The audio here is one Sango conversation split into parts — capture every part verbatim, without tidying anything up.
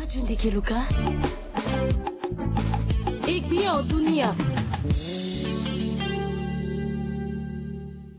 Tio ndeke luka. Egbion dunia.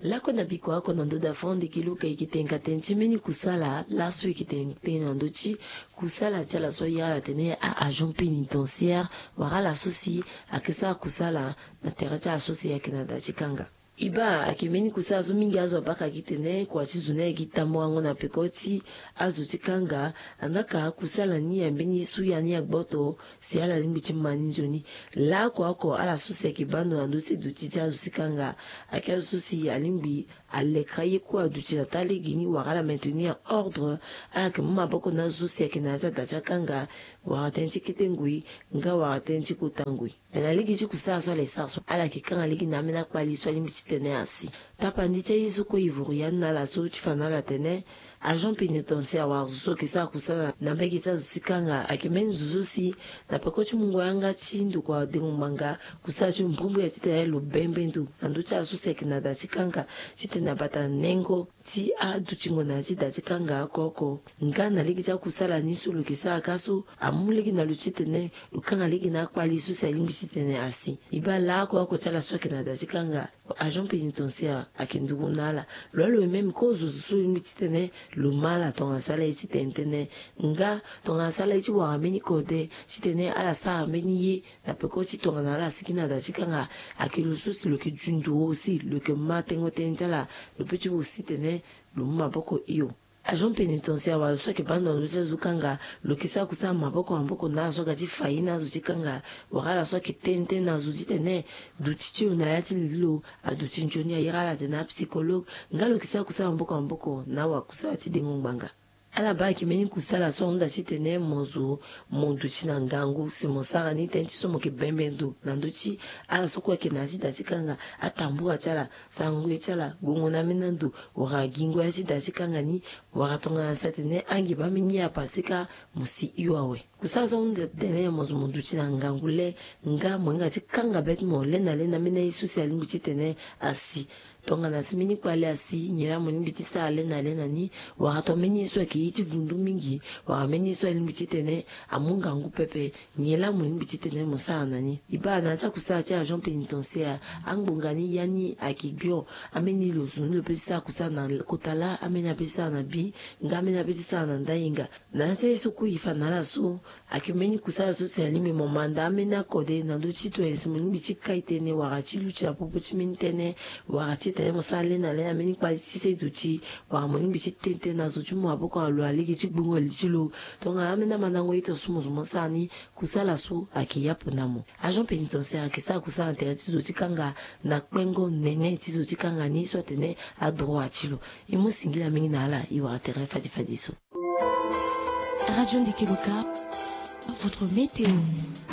Lakue na biko ako na ndo dafon ndeke luka eke tenga tene ti mbeni kusala laso eke tenga tene na ndo ti kusala ti ala so ayeke tene a agent pénitentiaire. Wala ala so si ayeke sara kusala na tere ti ala so si ayeke na da ti kanga. E baa ayeke mbeni kusala so mingi azo abaka gi tene kua ti zo ni ayeke tambula ngo na peko ti azo ti kanga. Andaa ka kusala ni ya mbeni ye so ya ni agboto si ala lingbi ti ma ni nzoni. Laoko oko ala so si ayeke baa ndo na ndo ti duti ti azo ti kanga ayeke azo so si alingbi alekera ye kue aduti na taa lege ni wala ala maintenir ordre. Ala yeke mu maboko na azo so si ayeke na ya ti ada ti akanga wala tënë ti kete ngoi nga wala tënë ti kota ngoi. Me na lege ti kusala so ala e sara so ala yeke kanga lege na ambeni akpali so alingbi titene asi. Tapandi ti aye so kue e vuru ya ni na ala so ti fa na ala tene agent pénitentiaire wala zo so yeke sara kusala na mbege ti azo ti kanga ayeke mbeni zo so si na peko ti mungo yanga ti ndokua dengo ngbanga kusala ti lo mbrimbri ya titene lo bembe ndo na ndö ti ala so si ayeke na da ti kanga titene abata nengo ti adutingo na ya ti da ti kanga oko oko. Nga na lege ti akusala ni so lo yeke sara ka so amu lege na lo titene lo kanga lege na akpali so si alingbi titene asi. E baa laoko oko ti ala so ayeke na da ti kanga agent pénitentiaire ayeke nduru na ala. Lo alo même kozo zo so lingbi titene lo ma ala tongana asara ye ti tene tënë nga tongana asara ye ti wara mbeni kode titene ala sara mbeni ye na peko ti tongana ala sigi na da ti kanga ayeke lo so si lo yeke dunduru aussi lo yeke ma tengo tënë ti ala. Lo peut ti aussi tene lo mu maboko hio. Agent pénitentiaire wala lo so ayeke baa ndo na ndö ti azo kanga lo yeke sara kusala maboko na maboko na ala so aga ti fa ye na azo ti kanga wala ala so ayeke tene tënë na azo titene duti ti lo na ya ti lili lo aduti nzoni ayere ala tene apsychologue nga lo yeke sara kusala maboko na maboko na awakusala ti dengo ngbanga. Ala baa ayeke mbeni kusala so ahunda titene mo zo mo duti na ngangu si mo sara ni tënë ti so mo yeke bembe ndo na ndö ti ala so kue ayeke na ya ti da ti kanga atambula ti ala sara ngoi ti ala gongo na ambeni ando wala gingo ya ti da ti kanga ni wala tongana si atene ange baa mbeni ye apase ka mo si hio awe. Kusala so ahunda titene mo zo mo duti na ngangu le nga mo hinga ti kanga be ti mo le na le na ambeni aye so si alingbi titene asi. Tongana si mbeni kpale asi nyen laa mo lingbi ti sara le na le na ni wala tongana mbeni ye so ayeke ye ti vundu mingi wala mbeni ye so alingbi titene amu ngangu pepe nyen laa mo lingbi titene mo sara na ni. E baa na ya ti akusala ti agent pénitentiaire angbonga ni ya ni ayeke gbio. Ambeni lo zo ni lo peut ti sara kusala na kota laa ambeni apeut ti sara na bi nga ambeni apeut ti sara na ndahinga. Na ya ti aye so kue e fa na ala so ayeke mbeni kusala so si alingbi mo manda ambeni akode na ndö ti tongana si mo lingbi ti kai tënë wala ti luti na popo ti mbeni tënë wala ti tene mo sara le na le na mbeni kpali ti se duti wala mo lingbi ti tene tënë na zo ti mu maboko na lo na lege ti gbungo li ti lo. Tongana ambeni amandango ye tongaso mo zo mo sara ni kusala so ayeke yapo na mo. Agent pénitentiaire ayeke sara kusala na tere ti zo ti kanga na kpengo nene ti zo ti kanga ni so atene adroit ti lo. E mu singila mingi na ala e wara tere fade fade so. Radio Ndeke Loka, votre météo.